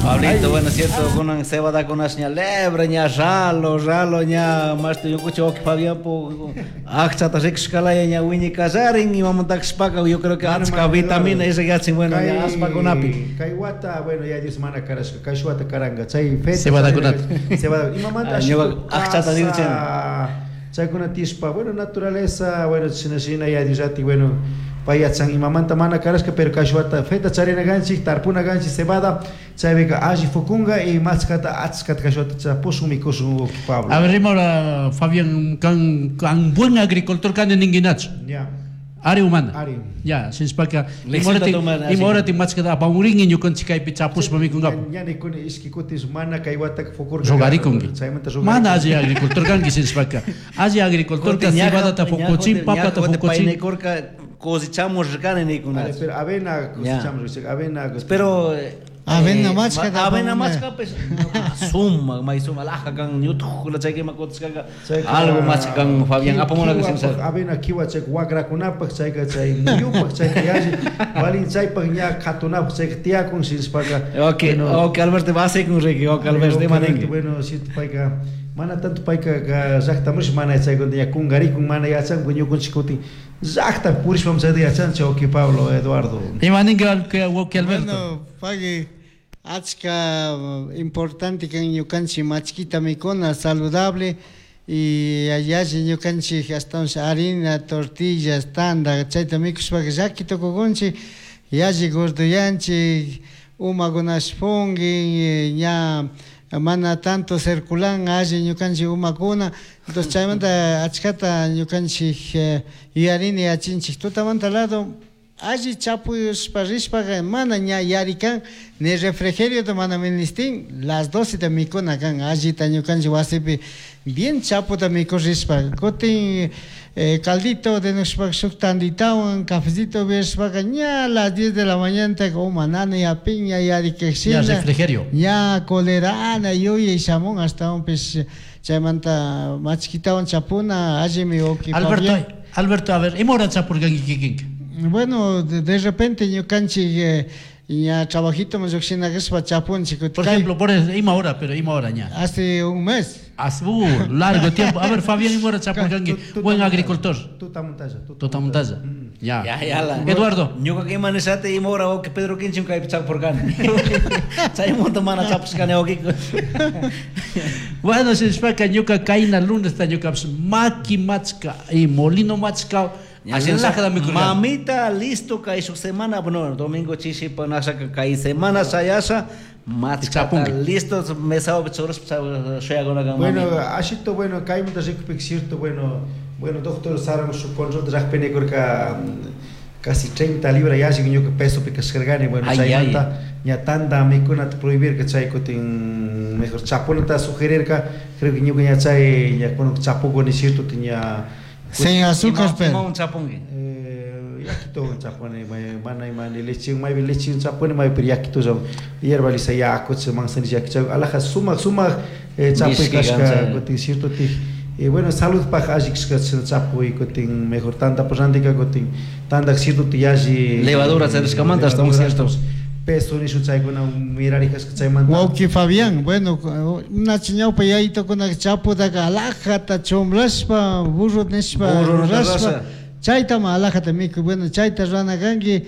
Pablito, bueno, cierto, kunan cebadakunash ña lebre, ña ralo, ralo, ña mashti ñukuchi wawki Fabián po akchata rikushkalaya ña wiñi kallarin imamantakashpaka yo creo que achka vitamina esa yachin bueno ña aspakunapi. Kay wata, bueno, ya Dios mana karashka, kay wata karanga, chay feta. Cebadakunata. Cebada, imamanta Ah, ñuka akchata rikuchin. Chaykuna tishpa, bueno, naturaleza, bueno, shina shina ya Dios ati, bueno, pay yachan imamanta mana karashka, pero kay wata feta charina ganchik, tarpuna ganchik, cebada, chaypika alli fukunga y machkata achkata kay wata chapushun mikushun Pablo. A ver, rimora Fabián, kan, kan buen agricultor kan ninguinacho. Ya. Ari humana. Ari. Ya, sinspaka. Lección tomar, así. Imorati machkata apamuringi ñukanchik kaypi chapushpa mikungapu. Ña nikuni ishki kutis mana kay wata fukurka. Rogarikunki. Chaymanta Mana alli agricultor kanki sinspaka. Alli agricultor ka cebadata fukuchin, papata fukuchin. Paynikurka cosechamos rikani nikuna. Pero avena cosechamos, avena. Pero Avena machka avena tapamuna. machka pues suma may suma laja kan ñutukula chaykima kutisqaqa Chayka- algo machka kan Fabián apamuna Kiwapaj, kasimsa. Avena kiwa chay wakrakunapaj chayka chay muyupaj chayka yalli valin chaypaj ña katunapaj chayka tiyakun sinspaka. Ok, ok Alberto vasikun riki, ok Alberto ima ninki. Bueno, si payka mana tanto payka llaqtamush mana chaykuna ña kungarikun mana yachanku ñukunchik kutin llaqta purishpam chayta yachanchik ok Pablo Eduardo. Ima ninki wawki Alberto. Bueno, pagui achka importante kan ñukanchik machkita mikuna saludable y alli ñukanchik ashtawanshi harina, tortillas, tanda chayta mikushpaka llaki tukukunchik yalli gordoyanchik umakunash pungin ña mana tanto circulan alli ñukanchik umakuna entonces chaymanta achkata ñukanchik yuyarini yachinchik tutamanta lado alli chapuyushpa rishpaka mana ña yarikan ni refrigeriota mana ministin las 12 ta mikuna kan allita ñukanchik wasipi bien chaputa mikurishpa kutin caldito denushpaka shuk tanditawan cafecito upyashpaka ña las 10 de la mañana uma nana yapin ña yarikakshina Ya refrigerio. ña colerana yuyay shamun ashtawanpish chaymanta machkitawan chapuna allimi wawki Alberto, Fabián. Alberto, a ver, ima hora chapurkanki kikinka? Bueno, de repente ñukanchik ña trabajito lluqshina kashpa chapunchik. Por ejemplo, por ima hora, pero ima hora ña. Hace un mes. Hace largo tiempo. A ver, Fabián, ima hora chapurkanki, buen agricultor. Tutamuntalla. Tutamuntalla. Ya. Ya, ya la. Eduardo. Ñuka ima nishati ima hora wawki Pedro Kinchim kaypi chapurkani. Chaymanta mana chapushkani wawkiku. Bueno, sinspaka ñuka kayna lunesta ñukapish maki machka y molino machka. Así Alajada mikurkani. Mamita, listo kay shuk semana, bueno, domingo chishi panasha kay semana sayasha machkata Chapunki. listo mesao churashpa shuyakuna kan Bueno, mami. ashito bueno, kaymanta rikupik cierto, bueno, bueno, doctor Saran su control raqpinikurka casi 30 libras yalli ñuka peso pikashkarkani, bueno, Ay, chaymanta ña tanta mikunata prohibirka chay kutin mejor chapunata sugerirka, creo que ñuka ña chay ña kunan chapukuni cierto ña Sin azúcar, Ima- pero. imawan chapunki? Yakito chapuni, mana ima ni leche, maybe leche chapuni, maybe pero yakito hierba lisa yaku, manzanilla yaku, alaja sumaq sumaq chapuy Mishki kashka, kancha. kutin cierto ti bueno, salud paj alli kashka chapuy, kutin mejor tanta por randika, kutin tanta cierto ti alli Levadura charishkamanta, hasta un levadura, cierto. Peso nishu chaykuna mirari kashka chaymanta. Wawki Fabián, bueno, una ñawpa yaytukuna chaputaka alajata chumlashpa, burro nishpa, Burro rurashpa, rurasha. chaytama alajata mikuy, bueno, chayta rurana kanki,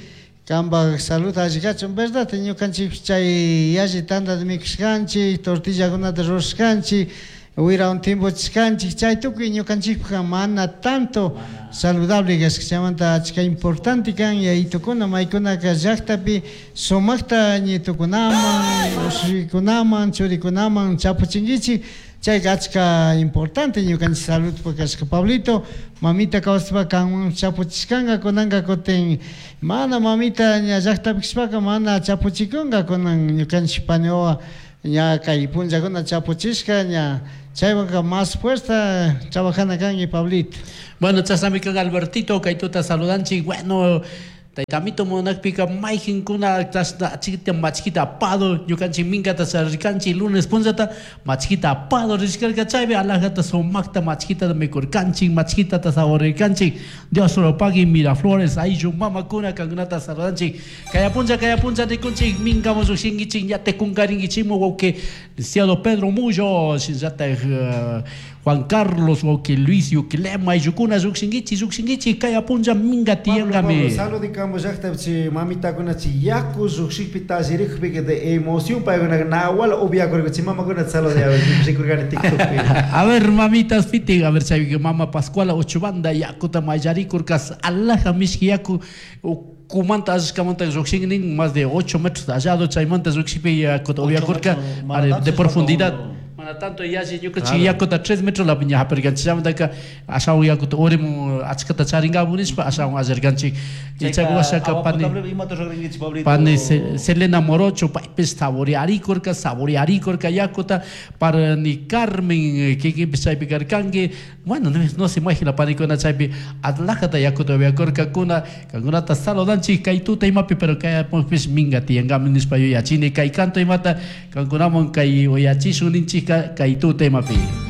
kanpak salud alli kachun, verdad, ñukanchik chay yalli tantata mikushkanchik, tortillakunata rurashkanchik, wirawan timpuchishkanchik, chay tukuy ñukanchikpajka mana tanto saludable kashka, chaymanta achka importante kan yayitukuna, maykunaka llaktapi sumakta ñitukunaman, ushikunaman, churikunaman chapuchinkichik, chayka achka importante ñukanchik saludpaj kashka. Pablito, mamita kawsashpa kanwan chapuchishkanka, kunanka kutin mana mamita ña llaktapi kashpaka mana chapuchikunka, kunan ñukanchik paniwawa ña kay punllakuna chapuchishka, ña chaywanka más fuerza trabajana kanki, Pablito. Bueno, chasnami kan Albertito, kaytuta saludanchik, bueno, Tayta munakpika mayqinkuna chashna achikita machkita apado ñukanchik minkata charirkanchik lunes punllata machkita apado rishkarka chaypi alajata sumakta machkitata mikurkanchik machkitata saborirkanchik. Dios lo pague Miraflores ayllu mamakuna kankunata saludanchik. Kaya punlla rikunchik minkamun llukshinkichik ña tekunkarinkichikmu wawqi licenciado Pedro Mullo shinallatak Juan Carlos wawqi Luis Yuquilema ayllukuna llukshinkichik llukshinkichik kaya punlla minka tiyankami. Saludikamo llaqtapi mamitakuna chi yaku lluqshikpi tallerikpi de emoción paykuna nawala upiakurka chi mamakuna salude a ver rikurkani TikTokpi. A ver mamitas piti a ver chay mama Pascuala Ochubanda yakuta mayarikurka alaja mishki yaku kumanta ashkamanta lluqshin más de 8 metros hallado chaymanta lluqshikpi yakuta upiakurka de profundidad. Mana tanto yashi ñukanchik yakuta 3 metros la piña hapirkanchik chaymantaka ashawan yakuta urimun achkata charinkapu nishpa ashawan allarkanchik. Y chay washaka pani pani Selena Morocho paypis saborearikurka saborearikurka yakuta para ni Carmen kikinpis chaypi karkanki. Bueno, no se imagina panikuna chaypi atlajata yakuta upiakurkakuna kankunata saludanchik kay tuta imapi pero kaypis minka tiyankami nishpa yuyachini kay canto imata kankunaman kay uyachishun ninchik kay tuta imapi.